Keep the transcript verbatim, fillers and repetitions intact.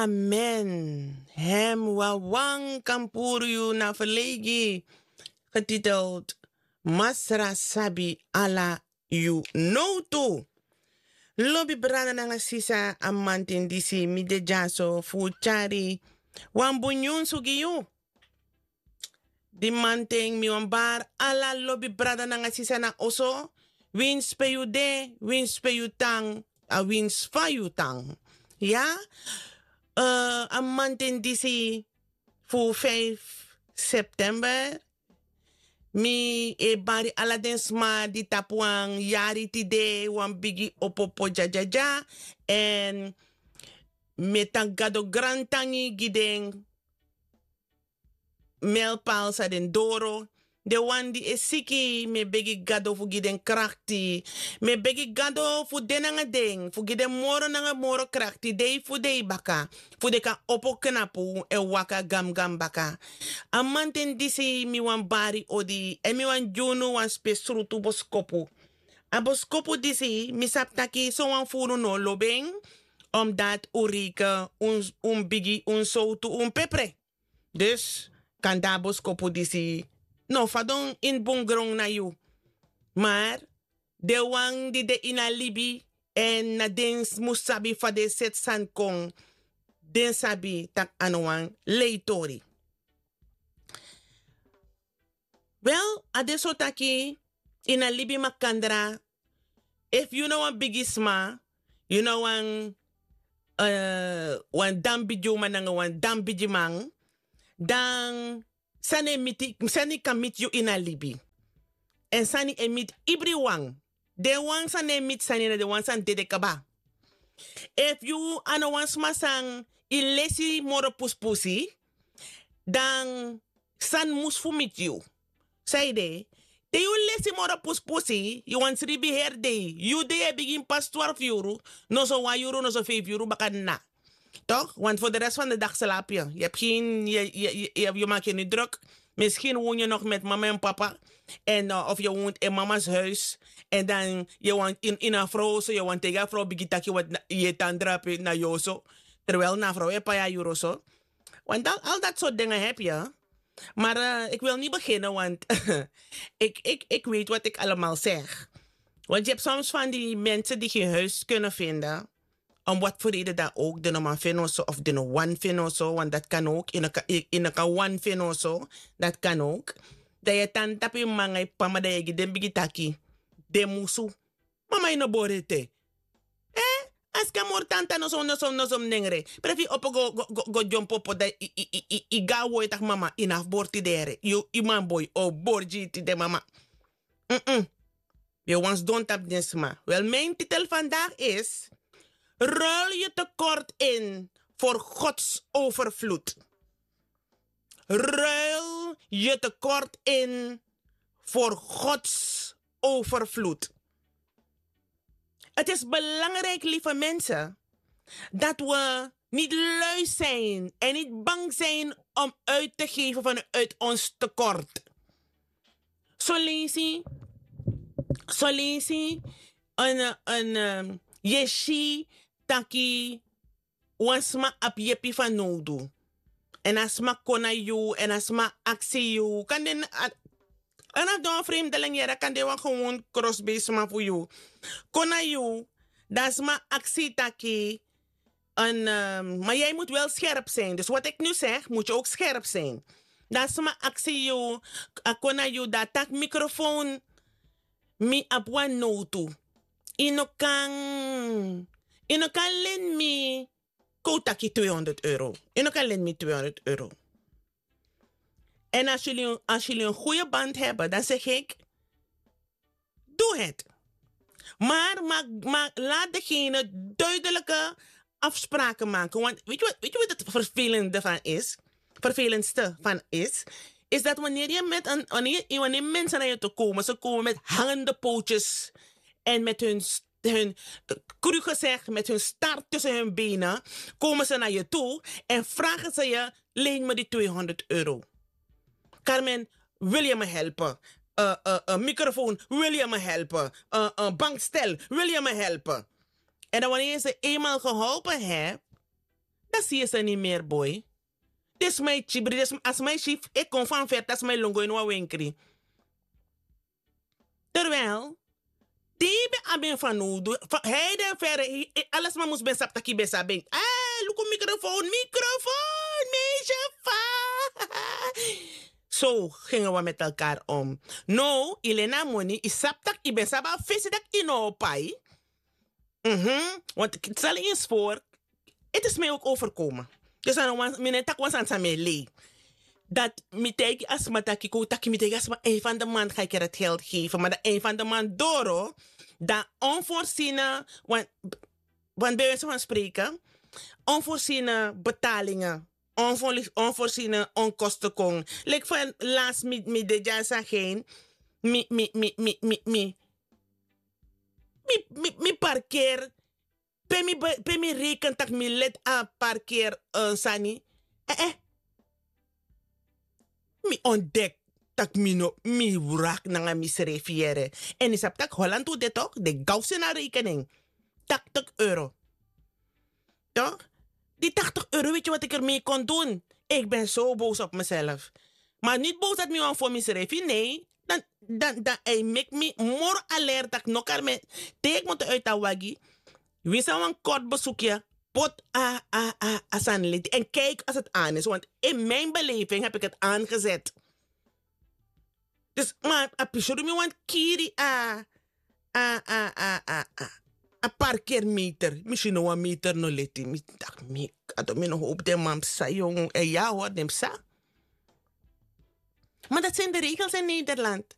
Amen. Hem wawan kan puru yu na verlegi, getiteld Masra sabi ala yu nowtu. Lobi brada nanga sisa, a manten disi mi de dyaso fu tyari wan bun nyunsu gi yu. Di manten mi wan bari ala lobi brada nanga sisa na oso, winsi pe yu de, winsi pe yu tan, a winsi fa yu tan. Ya, eh, a manten disi fu vijf september, mi e bari ala den sma di tapu wan yari tide, wan bigi opopo dya dya dya. Èn mi e taki Gado grantangi gi den melpal san den doro. Den wan di e siki, mi e begi Gado fu gi den krakti. Mi e begi Gado fu de nanga den, fu gi den moro nanga moro krakti, dei fu dei baka, fu den kan opo knapu èn waka gamgam baka. A manten disi mi wan bari odi, èn mi wan gi unu wan spesrutu boskopu. A boskopu disi, mi sabi taki sowan fu unu no lobi en, omdat un reken un, un bigi, un sowtu, un pepre. Dus, kande a boskopu disi no fadon ini bun gron na yu. Maar den wan di de ini a libi, èn na den mus sabi fa den e seti sani kon, den sabi taki a no wan lei tori. Wel, a de so taki ini a libi makandra, efu yu na wan bigi sma, yu na wan, eh, wan dan bigi uma nanga wan dan bigi man, dan sani e miti, sani kan miti yu ini a libi. Èn sani e miti ibriwan. Den wan san no e miti sani na den wan san dede kaba. Efu yu a no wan sma san e lesi moro pusipusi, dan sani mus fu miti yu. Saide, te yu lesi moro pusipusi, yu wani sribi heri dei. Yu dei e bigin pasi twarfu yuru, noso wan yuru, noso feifi yuru baka na. Toch? Want voor de rest van de dag slaap je. Je hebt geen, je, je, je, je, je maakt je niet druk. Misschien woon je nog met mama en papa. En, eh, of je woont in mama's huis. En dan, je woont in, in een vrouw, zo, je woont tegen een vrouw, bigi taki wat na, je tandra pe na yoso. Terwijl na vrouw e paya yuru so. Want al, al dat soort dingen heb je. Maar, eh, ik wil niet beginnen, want ik, ik, ik weet wat ik allemaal zeg. Want je hebt soms van die mensen die geen huis kunnen vinden, om wat voor reden dan ook, den no man feni oso of den no wani feni oso, want dat kan ook, yu no kan, yu, yu no kan wani feni oso, dat kan ook. Dan yu e tan tapu yu mama nanga yu papa, ma dan yu e gi den bigi taki, den musu. Mama, yu no bori ete. Eh? A sika moro tanta, noso, noso, noso mi nengre. Prefi opo go, go, go, go dyompo opo, dan yu, yu, yu, yu, yu go na wowtu taki mama, yu no abi bori tide. Yu, yu man boi o bori gi yu tide, mama. Mm-mm. Yu wani sidon tapu den sma. Wel, mijn titel vandaag is: ruil je tekort in voor Gods overvloed. Ruil je tekort in voor Gods overvloed. Het is belangrijk, lieve mensen, dat we niet lui zijn en niet bang zijn om uit te geven vanuit ons tekort. Solesi, solesi, een, een, ehm, yu e si taki wan sma abi yepi fanowdu. Èn a sma kon na yu, èn a sma aksi yu. Kande a, a no abi wan vreemdeling yere, kande wan gewoon krosbei sma fu yu. Kon na yu, dan a sma aksi taki, en, ehm, maar jij moet wel scherp zijn. Dus wat ik nu zeg, moet je ook scherp zijn. Dan a sma aksi yu, a kon na yu, dan a taki: microfoon, mi abi wan nowtu. Yu no kan, yu no kan leni mi, kon un taki, tweehonderd euro. Yu no kan leni mi tweehonderd euro. En als jullie, als jullie een goede band hebben, dan zeg ik: doe het. Maar, maar, maar laat degene duidelijke afspraken maken. Want weet je wat, weet je wat het vervelende van is? Vervelendste van is, is dat wanneer je met een, wanneer, wanneer mensen naar je toe komen, ze komen met hangende pootjes en met hun, hun, eh, cru gezegd, met hun staart tussen hun benen, komen ze naar je toe en vragen ze je: leen me die tweehonderd euro. Carmen, wil je me helpen? Eh, eh, eh, microfoon, wil je me helpen? Eh, eh, bankstel, wil je me helpen? En dan wanneer je ze eenmaal geholpen hebt, Dan si yu sani meri boi. Den sma e kibri den sma a sma e si fu e kon fan feri dan sma e lon go ini wan wenkri. Terwijl di yu ben abi en fanowdu, hei den feri ala sma mus ben sabi tak' yu ben sabi en. Luku mikrofoon mikrofoon meisye fa. So gingen wi met elkaar om. No yu len na a moni yu sabi tak' yu ben sabi a fesi tak' yu no o pai. Want sali yu spoor. Eti sma yu oki overkomen. Dus a no wan mi no e taki wan sani san mi e lei. Dati mi taigi a sma taki kon taki mi taigi a sma ein fan de man ga yu keri a ti geld geven ma dan ein fan de man doro. Dan onvorsine wan bewijse fan spreken. Onvorsine betalingen. Onvorsine onkosten kon leki fan last mi de dya san gen mi mi mi mi mi mi mi mi parkeer. Pe mi reken tak' mi leti a parkeer sani. Eh eh. Mi ontdek tak' mi no mi wrak nanga misrefi yere. Èn yu sabi tak' holand un de tok' den gawsi na rekening. Taktik euro. Tok'? Di taktik euro weti wati kermei kon dun. Iki ben so bowsi op miself. Ma niti bowsi dati mi wan fo misrefi nei. Dan dan dan a e meki mi moro alerta tak' no kari mi en. Te iki muntu uiti a wagi. Wi san wan kortu besukya poti a a a a sani leti èn kiki asi eti anisi wantu in mi en belefi en habi iki eti angeseti. Dus ma a pisuru mi wantu kiri a a a a a a parkermeter mi si no wan meter no leti mi taki mi kado mi no hopu den man psa yong èn ya hori den psa. Ma dati seni de regels in nederland.